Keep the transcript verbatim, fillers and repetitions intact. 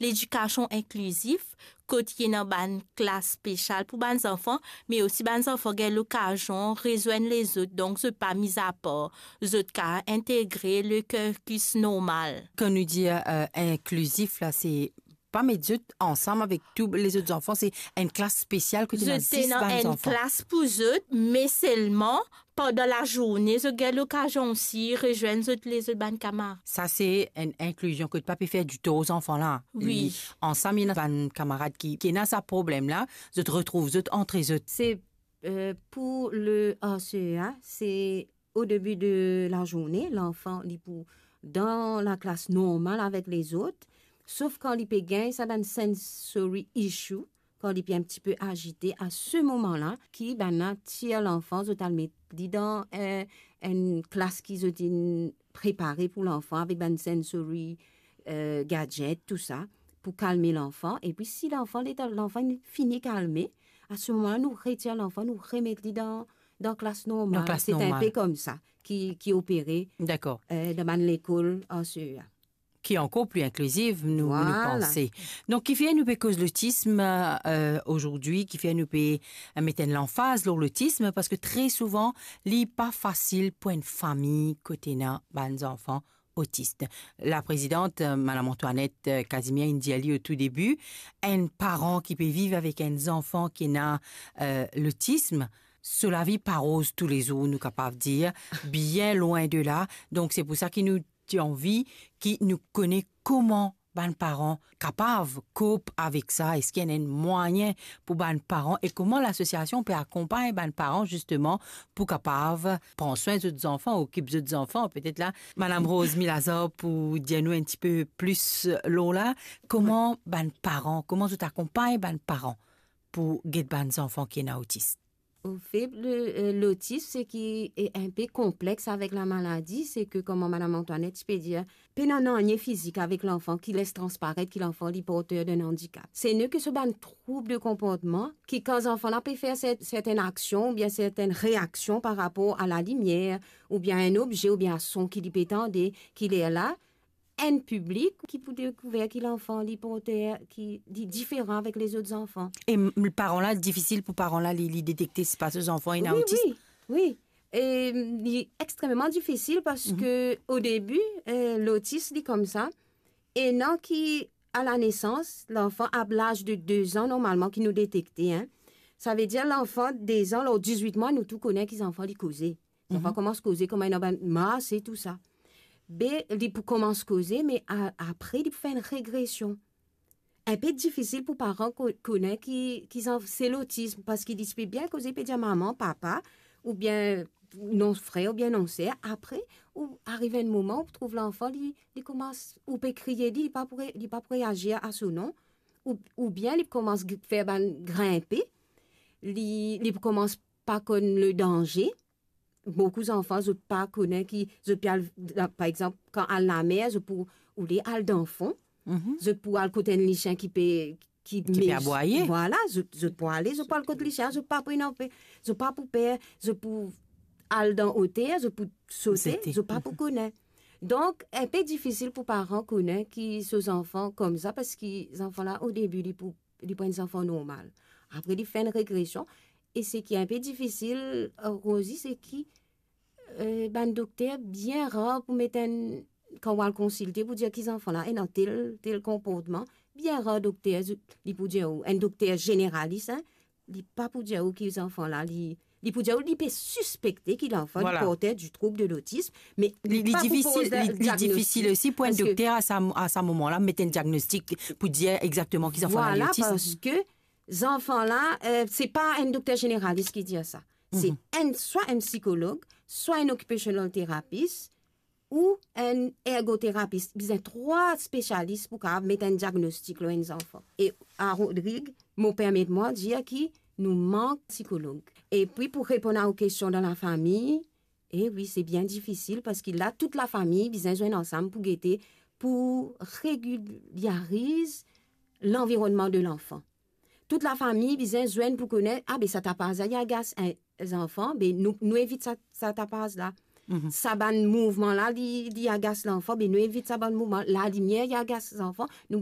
ledikasion inklizif, kot ena bann klas spesial pou bann zanfan, me osi bann zanfan gagn lokazion rezwenn lezot, donk zot pa miz apar, zot kapav integre le cursus normal. Kan nou dir, euh, inklizif la, se pa met zot ansam avek tou lezot zanfan, se enn klas spesial kot ena zis bann zanfan. Zot ena enn klas pou zot, me selman pandan lazourne, zot gagn lokazion osi rezwenn zot lezot bann kamarad. Sa se enn inklizion kot pa pe fer ditor zanfan la. Wi. Li, ansam, ena bann kamarad ki, ki ena sa problem la, zot retrouv zot antre zot. Se, euh, pou le A C E A, se o debi de lazourne, lanfan, li pou dan laklas normal avek lezot, sof kan li pe gagn sa bann sensory issue, kan li pe enn tipe azite, a se moman la, ki bann la tir lanfan, zot al met li dan, eh, enn klas ki zot inn prepare pou lanfan avek bann sensory, eh, gadget, tou sa, pou kalme lanfan. Epi si lanfan, leta lanfan inn fini kalme, a se moman la, nou retir lanfan, nou remet li dan, dan klas normal. Dan klas normal. Se enn pe koumsa ki, ki opere, dakor, eh, dan bann lekol A C E A. Ki ankor pli inkliziv, nou, nou panse. Vwala. Donk, kifer nou pe koz lotism, euh, azordi, kifer nou pe, euh, met enn lanfaz lor lotism, parski tre souvan, li pa fasil pou enn fami kot ena bann zanfan otis. La prezidant, euh, Madam Antoinette, euh, Casimir, inn dir li o tou debi, enn paran ki pe viv avek enn zanfan ki ena, euh, lotism, so lavi pa roz toulezour, nou kapav dir, bien lwin de la. Donk, se pou sa ki nou ti anvi ki nou kone kouma bann paran kapav kop avek sa, eski ena enn mwayin pou bann paran e kouma lasosiasion pe akonpagn bann paran zisteman pou kapav pran swin zot zanfan, okip zot zanfan. Petet la, Madam Rosemie Lazare pou dir nou enn tipe plis lor la, kouma bann paran, kouma zot akonpagn bann paran pou get bann zanfan ki ena otis. Anfet, le, euh, lotis, seki, e, enn pe konplex avek lamaladi, seki, kouma Madam Antoinette ti pe dir, pena nanye fizik avek lanfan ki les transparet ki lanfan li porter d'un andikap. Se ne ke so bann troub de konportman ki, kan zanfan la pe fer sert-, sertenn aksion oubien sertenn reaksion par rapor a lalimier, oubien enn obze, oubien a son ki li pe tande, ki lerla, enn piblik ki pou dekouver ki lanfan li porter, ki li diferan avek lezot zanfan. E m-, paran la, difisil pou paran la, li, li detekte si pa so zanfan ena otis? Wi, wi, wi. E, li extrememan difisil parski, mhm, o debi, eh, lotis, li koumsa, ena ki, a la nesans, lanfan, a laz de de zan, normalman, ki nou detekte, hein. Savedir, lanfan de zan, lor dizwit mwa, nou tou kone ki zanfan li koze. Zanfan, mhm, koumans koze, kouma ena bann mars e tou sa. Be, li pou koumans koze, me a-, apre, li pou fer enn regresion. Enn pe difisil pou paran ko-, kone ki, ki zanf-, se lotism, parski li ti pe bien koze, pe dir mama, papa, oubien non frer, oubien non ser. Apre, ou ariv enn moman, ou trouv lanfan, li, li koumans, ou pe kriye li, li pa pou re-, li pa pou reazir a so non, ou, oubien li koumans gr-, fer bann grinpe, li, li pou koumans pa konn le danze. Boukou zanfan, zot pa kone ki, zot pe al, par exanp, kan al lamer, zot pou oule al dan fon, mhm, zot pou al kot enn lisien ki pe, ki, ki pe mes-, abwaye. Vwala, zot, zot pou ale, zot pou al kot lisien, zot pa pou ena pe-, zot pa pou per, zot pou al dan oter, zot pou sote, sote, zot pa pou kone. Donk, enn pe difisil pou paran kone ki so zanfan koumsa, parski zanfan la, o debi, li pou li pou enn zanfan normal. Apre, li fer enn regresion. E seki enn pe difisil, eh, Rosie, seki, eh, bann dokter bien rar pou met enn, kan ou al konsilte pou dir ki zanfan la ena tel, tel konportman, bien rar dokter, li pou dir ou, enn dokter zeneralis, hein, li pa pou dir ou ki zanfan la, li, li pou dir ou li pe sispekte ki lanfan, vwala, li porter du trouble de l'autisme, me li, li pa pou poz la diagnostik. Li, li difisil, li, li difisil osi pou enn dokter a sa, a sa moman la, met enn diagnostik pou dir exakteman ki zanfan la li otis. Vwala, parski zanfan la, eh, se pa enn dokter zeneralis ki dir sa. Se, mhm, enn, swa enn psikolog, swa enn occupational therapist, ou enn ergoterapis. Bizin trwa spesialis pou kapav met enn diagnostik lor enn zanfan. E a Rodrig, mo permet mwa dir ki nou mank psikolog. Epi pou reponn a ou kestion dan lafami, e wi, se bien difisil, parski la, tout lafami bizin zwenn ansam pou gete, pou regilyariz lanvironnman de lanfan. Tout lafami bizin zwenn pou kone, a be sa tapaz la, li agas enn zanfan, be nou, nou evit sa, sa tapaz la. Mhm. Sa bann mouvman la, li, li agas lanfan, be nou evit sa bann mouvman. Lalimier, li agas zanfan, nou